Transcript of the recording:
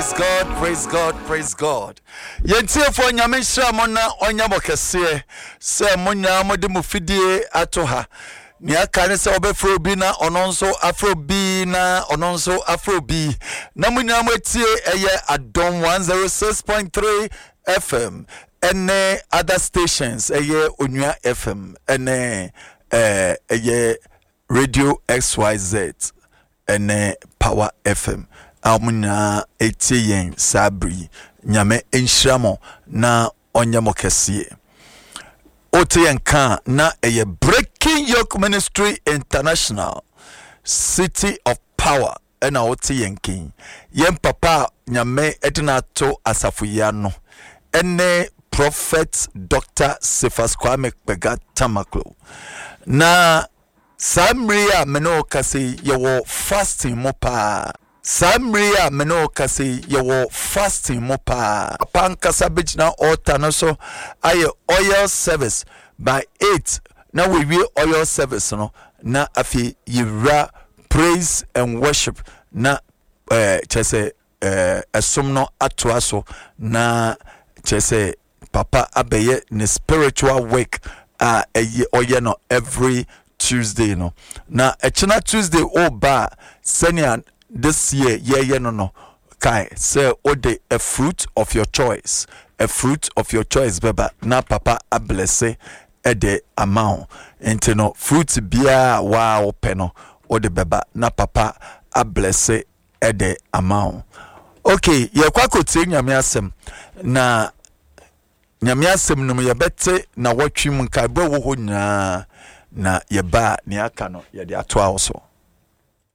Praise God, praise God, praise God. Yɛn tiefoɔ Nyame nhyira mo na ɔnyɛ mo kɛseɛ sɛ mo nyinaa mode mo fidie ato ha. Nea aka ne sɛ wɔbɛfrɛ obi na ɔno nso afrɛ obi na ɔno nso afrɛ obi na mo nyinaa mo atie ɛyɛ Adom 106.3 FM ɛne other stations ɛyɛ Onua FM ɛne ɛyɛ Radio XYZ ɛne Power FM a wɔn nyinaa ɛtie yɛn saa bere yi. Nyame nhyira mo na ɔnyɛ mo kɛseɛ. Wote yɛn ka a na ɛyɛ Breaking Yoke Ministry International City of Power ɛna wote yɛn ken. Yɛn papa a Nyame ɛde no ato asafo yi ano ɛne Prophet Dr. Cephas Kwame Kpega Tamaklo. Na saa mmere yi a me ne wo kasa yi yɛwɔ fasting mu paa. Saa mmere yi a me ne wo kasa yi yɛwɔ fasting mu paa. Papa ankasa bɛgyina altar no so ayɛ oil service by 8 na wɔawie oil service no na afei yɛwura praise and worship na eh, kyerɛ sɛ eh, ɛsom no atoa so na kyerɛ sɛ papa abɛyɛ ne spiritual work a ɛyɛ ɔyɛ no every Tuesday no na ɛkyena Tuesday ɔba a sɛnea this year yɛyɛ no no kae sɛ wode a fruit of your choice a fruit of your choice bɛba na papa ablɛse ɛde ama wo nti no fruit biara a waa wopɛ no wode bɛba na papa ablɛse ɛde ama wo ok yɛkɔ akɔtie nyame asɛm na nyame asɛm no mu yɛbɛte na wɔtwe mu nkaebɔ ɛwɔ hɔ nyinaa na yɛba a nea aka no yɛde atoa wo so.